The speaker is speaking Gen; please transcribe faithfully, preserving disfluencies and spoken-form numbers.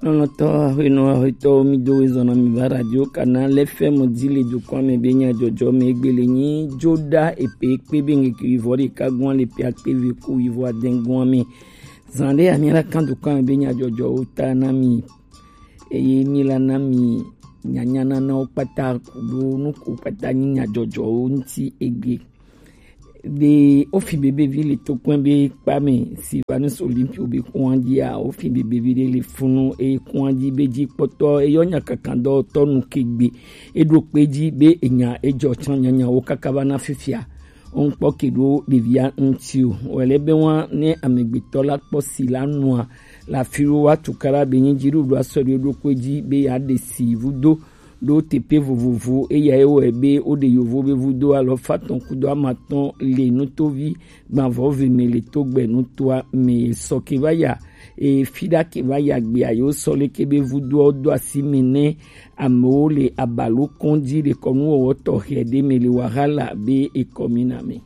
Lɔlɔ̃tɔ, aƒenɔ, aƒetɔwo, mi do wezɔn na mi va Radio Kana le F M di le dukɔa me be nyadzɔdzɔ me egbe le nyi joɖa epe kpe be ŋkeke wivɔ ɖeka gɔn le pe akpe ve ku wivɔ adɛn gɔn me. Zan ɖe ami la kan dukɔa me be nyadzɔdzɔwo ta na mi, eye mi la na mi nyanyananawo kpata kudo nuku kpata nyi nyadzɔdzɔwo ŋuti egbe. De ofi bebevi le tokpɛn be kpa me Silvanus Olympio be kɔn dia ofi bebevi de le funu e kɔn di be ji kpɔtɔ eyɔ nya kankan dɔ tɔ nu kegbe eɖo kpe ji be enya ejɔ tsɔ nyanya wo kaka va na fifia. Ŋkpɔ ke ɖo ɖevia ŋuti o. Wòle be wa ne amegbetɔ la kpɔ si la nua le afi ɖo wa tukara be nyi dziɖuɖu asɔ ɖe ɖo kpe ji be ya ɖe si vudo ɖo teƒe vovovo. Eya ye wɔe be woɖe yovo be vudo alɔfa tɔn kudo amatɔn le nutovi gbavɔ ve me le togbe nutoa me sɔ ke va ya. E fi ɖa ke va ya gbea yewo sɔ leke be vudoawo do asi me ne amewo le abalo kɔn dzi ɖe kɔnuwɔwɔ tɔxɛ ɖe me le wahala be ekɔmina me.